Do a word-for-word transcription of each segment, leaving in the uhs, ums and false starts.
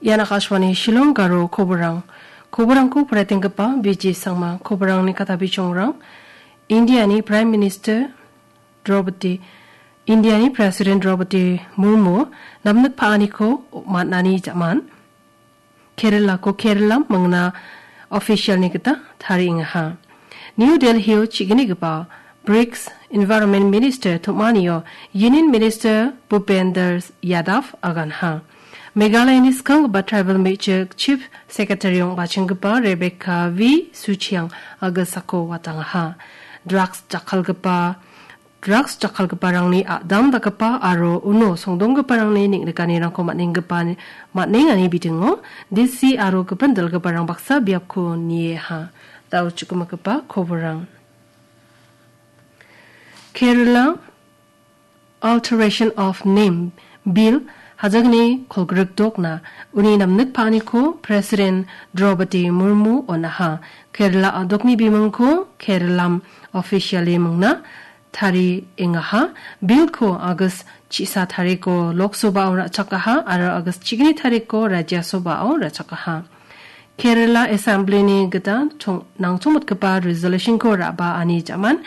Ian Akashvani Shillong Garo koborang. Koborangko poraitenggipa B J Sangma. Koborangni katabichangrang. Indiani Prime Minister Draupadi, Indiani President Draupadi Murmu namnik pa·aniko man·ani jaman. Keralako Keralam mingna officialni gita tariengaha. New Delhio chiginigipa brics Environment Minister tom·anio Union Minister Bhupender Yadav aganha. Meghalayani skanggipa tribal me·chik Chief Secretary ong·bachenggipa Rebecca V Suchiang agisako watangaha. Drugs jakkalgipa Drugs jakkalgiparangni a·dam dakgipa aro uno songdonggiparangni neng·nikanirangko man·enggipa, man·engani bidingo D C aro gipin dilgiparang baksa biapko nieha. Dao chukgimagipa koborang. Kerala Alteration of Name Bill hajagni kolgrikdokna uni namnik pa·aniko President Draupadi Murmu on·aha. Kerala a·dokni bimingko Keralam officially mingna tariengaha. Billko August chisa tariko Lok Sabhao ra·chakaha aro August chigni tariko Rajya Sabhao ra·chakaha. Kerala Assemblyni gita chong-, nangchongmotgipa resolutionko ra·baani jaman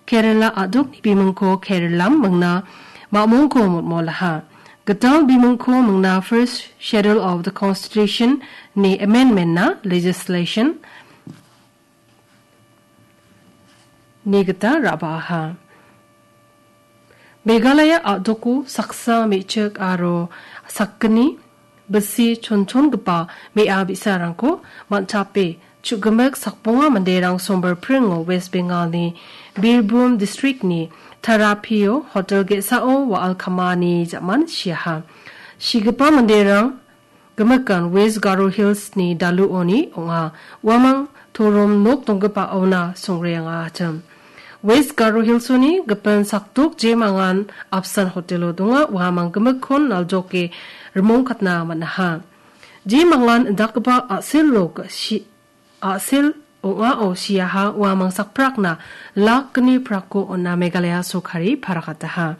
Kerala a·dokni bimingko Keralam mingna mamongko motmolaha. Gital bimingko mingna First Schedule of the Constitution ni amendment-na legislation ni gita ra·baaha. Meghalaya a·doko saksa me·chik aro sakgni bisi chonchongipa me·a bi·sarangko man·tape chu·gimik sakbonga manderang sombar pringo West Bengalni Birbhum districtni Tarapio hotel ge·sao wa·al kamani jaman siaha. Sigipa manderang gimikan West Garo Hillsni daluoni ong·a. Uamang torom nok donggipaona songreangatim. West Garo Hillsoni gipin sakdok jemangan apsan hotelo donga, uamang gimikkon naljoke rimongkatna man·aha. Jemangan indakgipa a·selo si-, a·sel ong·ao siaha, uamang sakprakna lakni prakko on·a Meghalaya sorkari parakataha.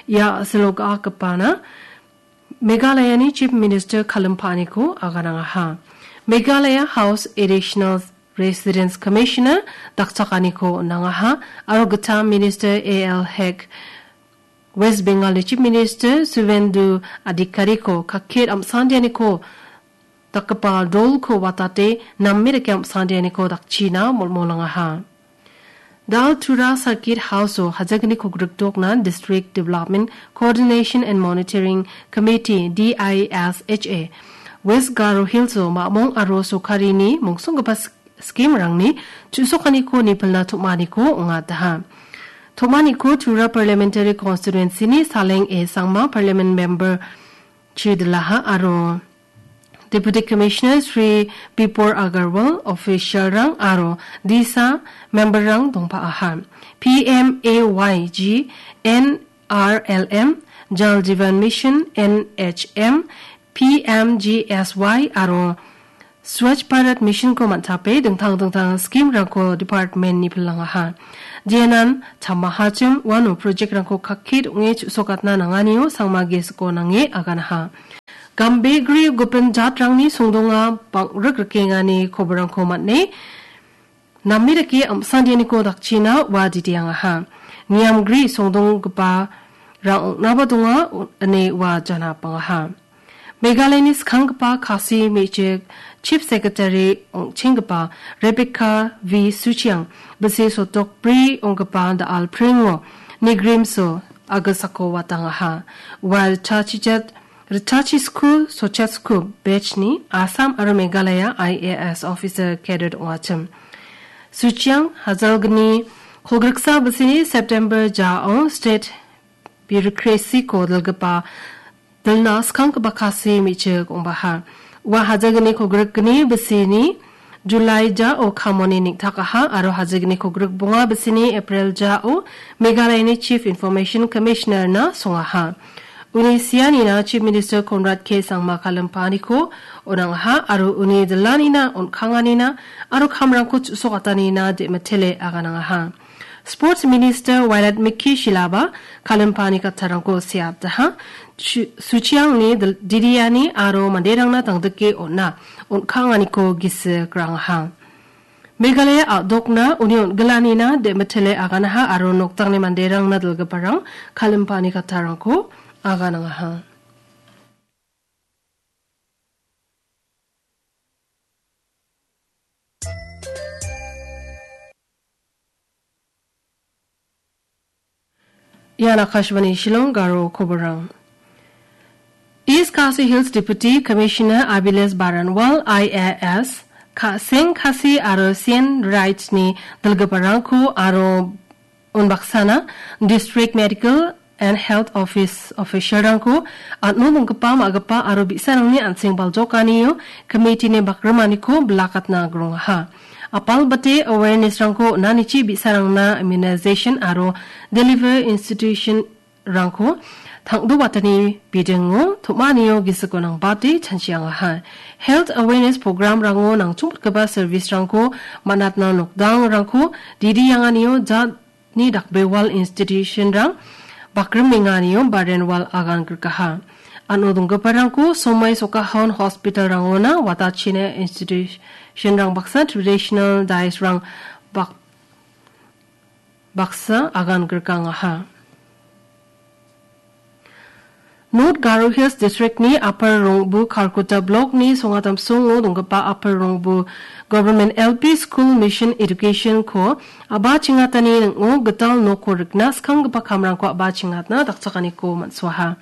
Ia a·selo ga·akgipana Meghalayani Chief Minister kalimpa·aniko aganangaha. Meghalaya House Additional Residence Commissioner dakchakaniko on·angaha aro gita Minister A L Hek, West Bengalni Chief Minister Suvendu Adhikariko kakket am·sandianiko dakgipa dolko watate name dake am·sandianiko dakchina molmolangaha. Dal Tura Circuit House-o hajagni kogrikdokna District Development Coordination and Monitoring Committee, D I S H A, West Garo Hills-o mamong aro sorkarini mongsonggipa sk-, scheme-rangni chu·sokaniko nipilna tom·aniko ong·ataha. Tom·aniko Tura Parliamentary Constituency-ni Saleng A Sangma Parliament Member Chidilaha aro Deputy Commissioner Shri Bipor Agarwal, official-rang aro disa member-rang dongpa·aha. P M A Y G, N R L M, Jal Jeevan Mission, N H M, P M G S Y aro Swachh Bharat Mission-ko man·tape dingtang dingtang scheme-rangko department-ni pilangaha. Jenan tamahachim uano project-rangko kakke ong·e chu·sokatna nanganio Sangma Gisiko nange aganaha. Gambegri gipin jatrangni songdonga bang·rik rikengani koborangko man·e, name dake am·sandianiko dakchina ua didiangaha. Niamgri songdonggipa rang ong·naba donga, ine ua jana pangaha. Meghalayani skanggipa Khasi me·chik Chief Secretary ong·chenggipa Rebecca V Suchiang, bisi sotok bri ong·gipa da·al pringo Nigrimso agisako watangaha. Ua ritachijat, ritachisku sochasku batch-ni Assam aro Meghalaya I A S officer cadet ong·achim. Suchiang hajalgni kolgriksa bisini September jao state bureaucracy-ko dilgipa dilna skanggipa Khasi me·chik ong·baha. Ua hajagni kogrikgni bisini July jao kamoni neng·takaha aro hajagni kogrik bonga bisini April jao Meghalayani Chief Information Commissioner-na songaha. Uni sianina Chief Minister Conrad K Sangma kalimpaniko on·angaha aro uni dilanina, on·kanganina aro kamrangko chu·sokatanina de·mitele aganangaha. Sports Minister Wailadmiki Shylla-ba kalimpani kattarangko seataha. Su-, suchiangni dil-, didiani aro manderangna tangdike on·a, on·kanganiko gisik rangaha. Meghalaya a·dokna uni on·gilanina de·mitele aganaha aro noktangni manderangna dilgiparang kalimpani kattarangko aganangaha. Ian Akashvani Shillong, Garo koborang. East Khasi Hills Deputy Commissioner Abhilash Baranwal I A S, Khaseng Khasi aro Sien Rights-ni dilgiparangko aro unbaksana District Medical and Health Office official-rangko an·o donggipa ma·gipa aro bi·sarangni an·seng baljokanio committee-ni bakrimaniko bilakatna grongaha. Apalbate awareness-rangko on·anichi bi·sarangna immunization aro delivery institution-rangko tangdobatani bidingo tom·anio gisiko nangbate chanchiangaha. Health awareness program-rango nangchongpatgipa service-rangko man·atna nokdangrangko didianganio jat ni dakbewal institution-rang bakrimenganio Baranwal agan grikaha. An·o donggiparangko somai Sokahon hospital-rangona watachina institution-rang baksa traditional dais-rang bak-, baksa agan grikangaha. North Garo Hills District-ni Upper Rongbu Kharkutta Block-ni Songatamsongo donggipa Upper Rongbu Government L P School Mission Education-ko a·bachengatani ning·o gital nokko rikna skanggipa kamrangko a·bachengatna dakchakaniko man·suaha.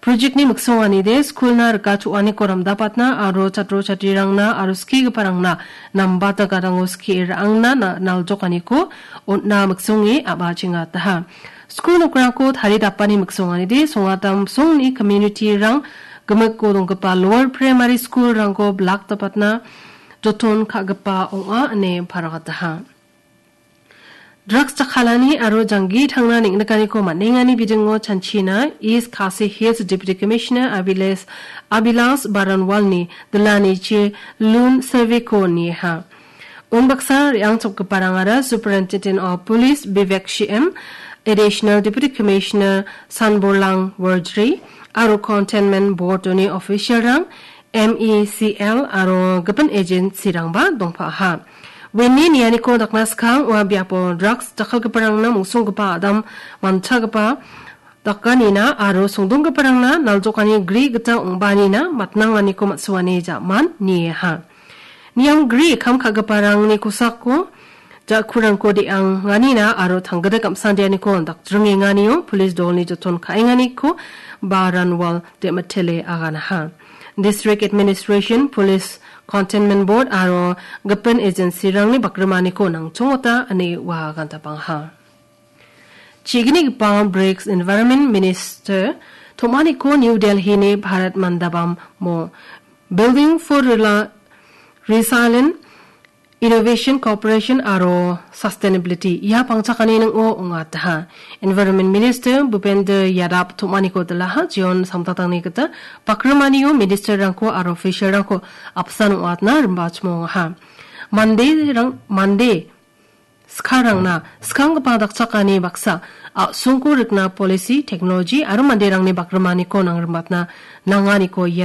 Project-ni miksonganide skulna rika cho·aniko ramdapatna aro chatro chatrirangna aro skigiparangna nambata gadango skie ra·angna na-, naljokaniko on·na miksonge a·bachengataha. Skul nokrangko taridapani miksonganide Songatamsongni community-rang gimikko donggipa lower primary school-rangko bilakdapatna joton ka·gipa ong·a ine paragataha. Drugs jakkalani aro janggi tangna neng·nikaniko man·engani bidingo chanchina East Khasi Hills Deputy Commissioner Abhilash, Abhilash Baranwalni dilanichi lun survey-ko niha. Unbaksa re·angchakgiparangara Superintendent of Police Vivek C M, Additional Deputy Commissioner Sanborlang Wardri, aro Containment Board-oni official-rang, M E C L aro gipin agency-rangba dongpaha. Weni nianiko dakna skang ua biapo drugs jakkalgiparangna mungsonggipa adam manchagipa dakanina aro songdonggiparangna naljokani gri gita ong·baanina matnanganiko man·suani ja·man niaha. Niang gri kam ka·giparangni kosako ja·kurangko de·anganina aro tanggidik am·sandianiko dakjringenganio police dolni joton ka·enganiko Baranwal de·mitele aganaha. District Administration, Police, Containment Board aro gipin agency-rangni bakrimaniko nangchongota ine ua agantapangaha. Chi·gnigipa brics Environment Minister tom·aniko New Delhi-ni Bharat Mandapam-o Building for Rela-, Resilient Innovation, Cooperation aro Sustainability ia pangchakani ning·o ong·ataha. Environment Minister Bhupender Yadav tom·aniko dilaha, jeon samtangtangni gita bakrimanio minister-rangko aro official-rangko apsan ong·atna rimbachimongaha. Manderang, mande skarangna skanggipa dakchakani baksa a·songko rikna policy, technology aro manderangni bakrimaniko nangrimatna nanganiko ia